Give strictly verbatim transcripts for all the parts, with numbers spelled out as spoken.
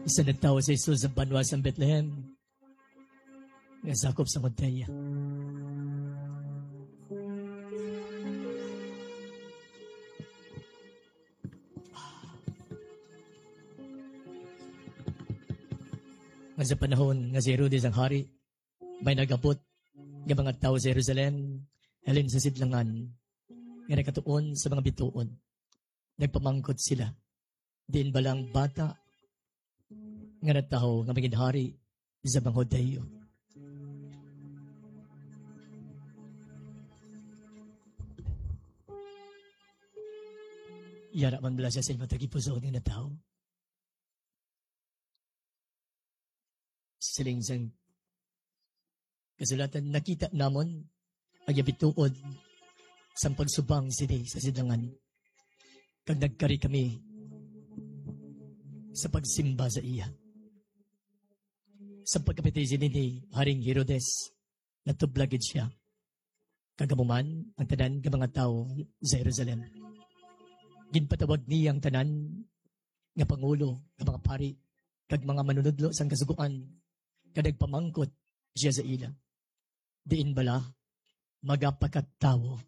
Isa natawo si Jesus sa banwa sang Bethlehem, nga sakop sang Judea. Nga sa panahon nga si Herodes ang hari, may nag-abot nga mga tawo sa Jerusalem halin sa sidlangan nga nakatuon sa mga bituon. Nagpamangkot sila, "Diin bala ang bata nga natawo nga magin hari sa mga Judio?" Yara man bala siya sa imo tagipusoon nga natawo? Siling sang kasulatan, nakita namon ang iya bituon sang pagsubang sini sa sidlangan, kag nagkari kami sa pagsimba sa iya. Sa pagkapati sini ni Haring Herodes, natublag gid sia, kag amo man ang tanan nga mga tawo sa Jerusalem. Ginpatawag niya ang tanan nga pangulo, nga mga pari, kag mga manunodlo sang Kasugoan, kag nagpamangkot siya sa ila, "Diin bala magapakatawo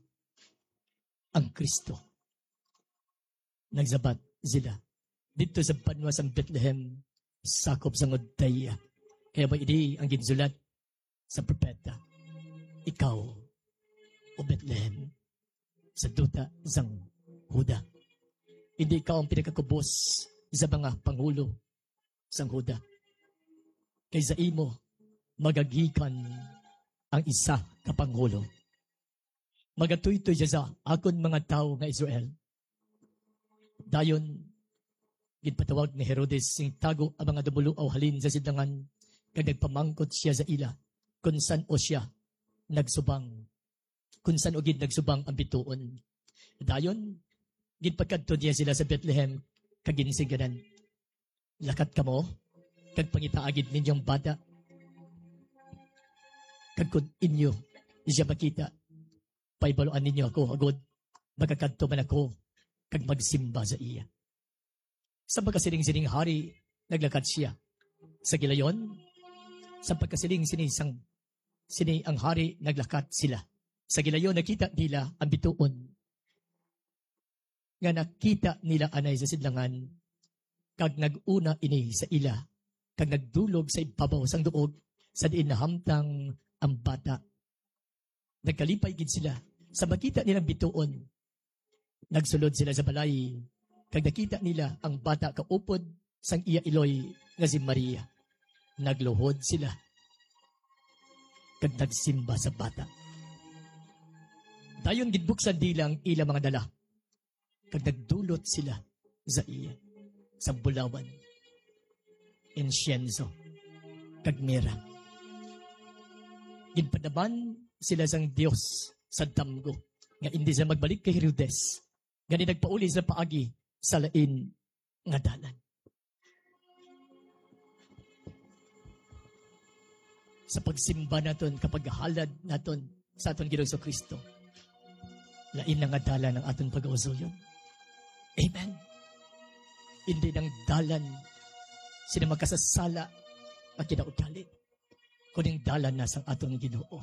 ang Cristo?" Nagsabat sila, "Didto sa banwa sang Bethlehem, sakop sang Judea. Kay amo ini ang ginsulat sa propeta, 'Ikaw, O Bethlehem, sa duta sang Juda, indi ikaw ang pinakakubos sa mga pangulo sang Juda. Kay sa imo magagikan ang isa ka pangulo. Magatuytoy siya sa akon mga tawo nga Israel.'" Dayon, ginpatawag ni Herodes sing tago ang mga dumuluaw halin sa sidlangan, kag nagpamangkot siya sa ila kon san-o siya nagsubang, kon san-o gid nagsubang ang bituon. Dayon, ginpakadto niya sila sa Bethlehem, kag ginsingganan, "Lakat kamo, kag pangitaa gid ninyo ang bata. Kag kon inyo siya makita, pahibaluan ninyo ako, agod makakadto man ako kag magsimba sa iya." Sa pagkasiling sining hari, naglakat siya. Sa gilayon, sa pagkasiling sini sang, sini ang hari, naglakat sila. Sa gilayon, nakita nila ang bituon nga nakita nila anay sa sidlangan, kag nag-una ini sa ila, kag nagdulog sa ibabaw sang duog sa diin nahamtang ang bata. Nagkalipay gid sila sa makita nilang bituon. Nagsulod sila sa balay, kag nakita nila ang bata kaupod sang iya iloy nga si Maria. Nagluhod sila kag nagsimba sa bata. Dayon ginbuksan nila ang ila mga dala, kag nagdulot sila sa iya sa bulawan, insyenso, kag mira. Ginpadaman sila sang Dios sa damgo, nga indi sila magbalik kay Herodes, gani nagpauli sila paagi sa lain nga dalan. Sa pagsimba naton, kapaghalad naton sa aton Ginoong Jesu-Cristo, lain na nga dalan ang aton pagausuyon. Amen. Hindi nang dalan sina makasasala nga kinaugali, kuning dalan na sang aton Ginoo.